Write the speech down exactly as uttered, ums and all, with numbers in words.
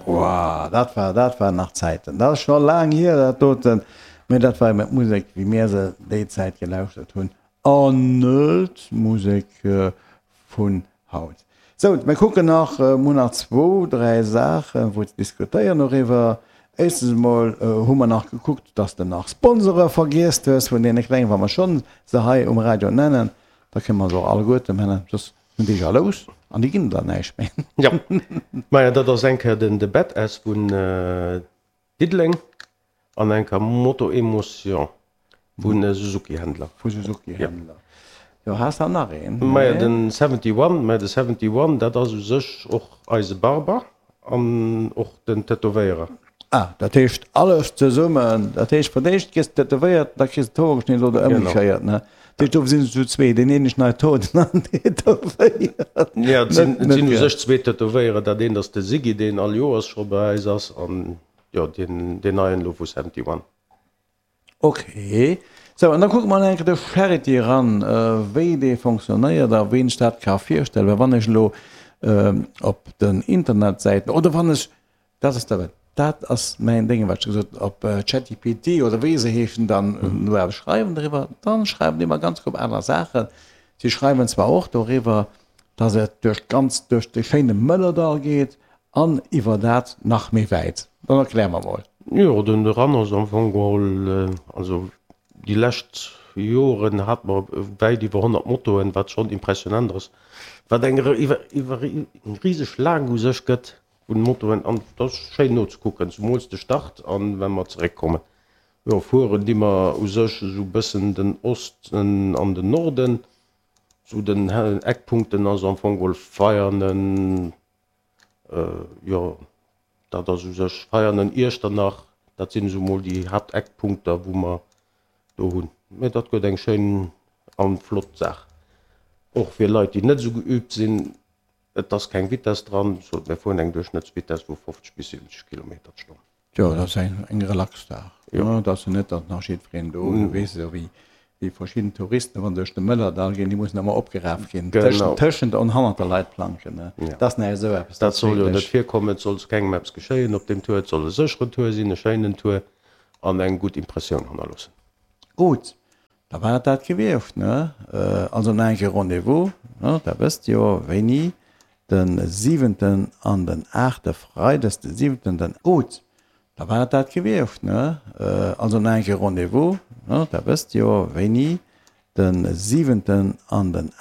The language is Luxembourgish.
Wow, dat war, dat waren nach Zäiten. Dat ass scho laang hier, dat doten. Mee dat war eben d'Musek, wéi mir se déi Zäit gelauschtert hunn, an net d'Musek vun haut. Sou, mir kucken nach, mir hunn nach zwou, dräi Saachen, wou ze diskutéieren doriwwer. Éischstens emol hu mer nach gekuckt, dass de nach Sponsore vergiess hues vun deene Klengen. Wa mer schonn se hei um Radio nennen, da kënne mer se och alleguerte nennen, soss sinn déi jalous an déi ginn der näischt méi. Jo, maja, dat ass eng Kéier den de Badass vun Diddeleng an eng Kéier Moto Emotion vu Suzuki-Händler. Vu Suzuki-Händler. Jo, has der nach een? Maja, den Seventy One, mä de Seventy One, dat ass u sech och eise Barber an och den Tätowéierer. Ah, dat heescht alles zesummen. Dat heescht, fir d'éischt gëss de tätowéiert, da kriss de d'Hoer geschnidden oder ëmgekéiert, ne? Dat heescht, do sinn se zu zwee, deen een schneit d'Hoer, deen aneren tätowéiert. Jo, et sinn, et sinn u sech zwee Tätowéierer. Dat eent ass de Siggy, deen all Joers scho bei eis ass, an jo, deen, deen neien elo vu Seventy One. Ok. Sou, an da kucke mer nach eng Kéier de Charity eran, wéi dee fonctionnéiert a ween sech dat ka virstellen. Well wann ech elo op den Internetsäiten oder wann ech, dat ass dat, dat ass mäin Déngen, wat ech gesot hunn, op ChatGPT oder wéi se heeschen, dann no eppes schreiwen doriwwer, dann schreiwen déi mer ganz grob aner Saachen. Si schreiwen zwar och doriwwer, dass et duerch d'ganz, duerch de schéine Mëllerdall geet an iwwer dat nach méi wäit. Dann erklär mer mol. Jo, den Run ass am Fong geholl, also déi lescht Joren hate mer wäit iwwer honnert Motoen, wat schonn impressionant ass, wat eng riseg Laang u sech gëtt vun Motoen an et ass schéin nozekucken, zumools de Start an wa mer zeréckkommen. Jo, fueren di mer u sech esou bëssen den Osten an den Norden, zu den Eckpunkten ass am Fong geholl Veianen, jo dat ass u sech Veianen, Iechternach, dat sinn esou mol déi Haapteckpunkter wou mer do hunn. Mee dat gëtt eng schéin an flott Saach, och fir Leit déi net esou geübt sinn. Et ass keng Vitess dran, sot mir fueren eng Duerchschnëttsvitess vu fofzeg bis siwwenzeg Kilometer d'Stonn. Jo, dat ass eng eng relax Saach. Jo, dat ass jo net, datt nach jiddwereen do, du weess jo wéi wéi verschidden Touristen, wa se duerch de Mëllerdall ginn, déi mussen ëmmer opgeraf ginn tëschent tëschent an hannert der Leitplanken, ne? Dat ass näischt esou eppes. Dat soll jo net virkommen, et soll kengem eppes geschéien op deem Tour. Et soll e sécheren Tour sinn, e schéinen Tour an eng gutt Impressioun hannerloossen. Gutt, Da war et dat gewiescht, ne? Also nach eng Kéier Rendez-vous, ne? Dat wësst jo, wéini, de siwenten an den aachte, freides de siwenten, den. Gutt, da war et dat gewiescht, ne? Also nach eng Kéier Rendez-vous, ne? Dat wësst jo, wéini, de siwenten an den.